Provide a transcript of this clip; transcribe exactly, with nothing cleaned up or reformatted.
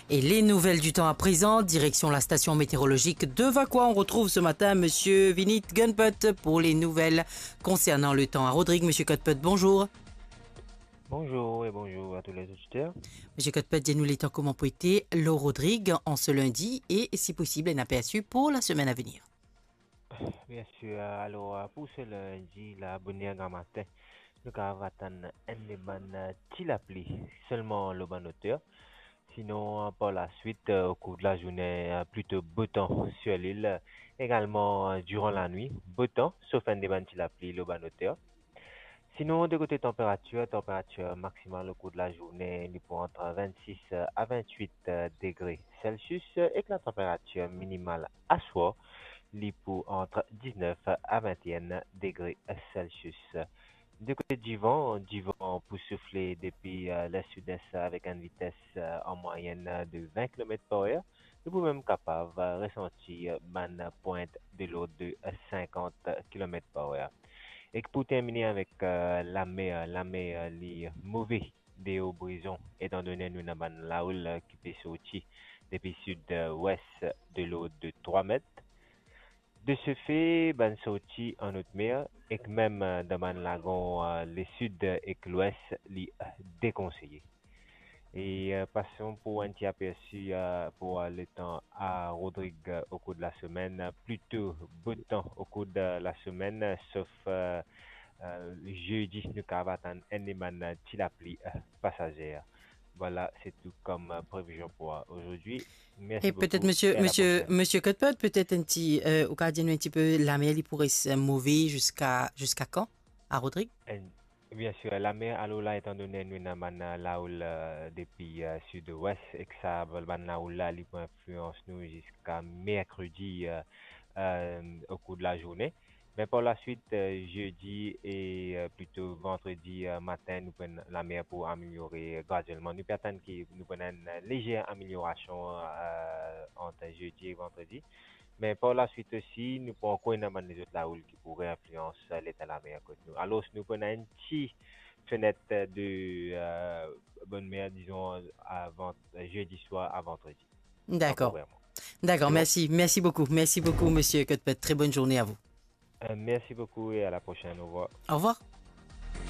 Et les nouvelles du temps à présent, direction la station météorologique de Vacoas. On retrouve ce matin Monsieur Vinit Gunput pour les nouvelles concernant le temps à Rodrigues. Monsieur Gunput, bonjour. Bonjour et bonjour à tous les auditeurs. Monsieur Gunput, dis-nous le temps comment pou ete lor Rodrigues en ce lundi et, si possible, un aperçu pour la semaine à venir. Bien sûr, alors, euh, pour ce lundi, la, bonn er gramatin, nou kapav atann enn bann, euh, ti lapli selman lor bann oter. Sinon, euh, par la suite, euh, au cours de la journée, euh, plutôt beau temps sur l'île. Également, euh, durant la nuit, beau temps, sauf enn bann ti lapli lor bann oter. Sinon, de kote tanperatir, tanperatir maksimal au cours de la journée, li pou ant vennsis a vennwit degre Celsius, ek la tanperatir minimal aswar, li pou ant diznef a vennenn degre Celsius. De kote divan, divan pou soufle depi, euh, lesud-es avek enn vites, euh, an mwayenn de vin kilomet par er. Nou pou mem kapav, euh, resanti, euh, bann pwint de lord de, euh, sinkant kilomet par er. Ek pou termine avek, euh, lamer, lamer, euh, li move deor Brizon, etandone nou ena bann laoul, euh, ki pe sorti depi sid, euh, wes de lord de trwa met. De ce fait, bann sorti an haute mer, ek mem, euh, dan bann lagon, euh, lesud ek lwes, li, euh, dekonseye. E, euh, pason pou enn ti apersi, euh, pour, euh, le temps à Rodrigues, euh, au cours de la semaine, euh, plutôt beau temps au cours de la semaine, euh, sauf, euh, euh, jeudi, nou kapav atann enn bann, euh, ti lapli, euh, pasazer. Voilà, c'est tout comme, euh, prévision pour, euh, aujourd'hui. Merci beaucoup et peut-être, monsieur, et à la monsieur, prochaine. Monsieur Cuthbert, peut-être un petit, euh, ou ka dir nou un petit peu, lamer, li pou res move jusqu'à, jusqu'à quand, à Rodrigues ? Enn Bien sûr, lamer, alor la, etandone nou ena bann, euh, laoul, euh, depi, euh, sid-wes, ek sa, bann laoul la, li pou inflians nou ziska merkredi, euh, euh, au cours de la journée. Me par la suite, euh, jeudi e, euh, plito vandredi, euh, matin, nou pou ena lamer pou ameliore graduelman. Nou pe atann ki nou pou ena enn lezer ameliorasion, euh, ant jeudi e vandredi. Me par la suite osi, nou pou ankor ena bann lezot laoul ki pou reinflians, euh, leta lamer kot nou. Alor, nou pou ena enn ti fenet de, euh, bonne mer, dizon, avan, euh, jeudi soir à vendredi. D'accord. Temporairement. D'accord, c'est bon. Merci. Merci beaucoup. Merci beaucoup, monsieur Cuthbert. Très bonne journée à vous. Euh, merci beaucoup et à la prochaine. Au revoir. Au revoir.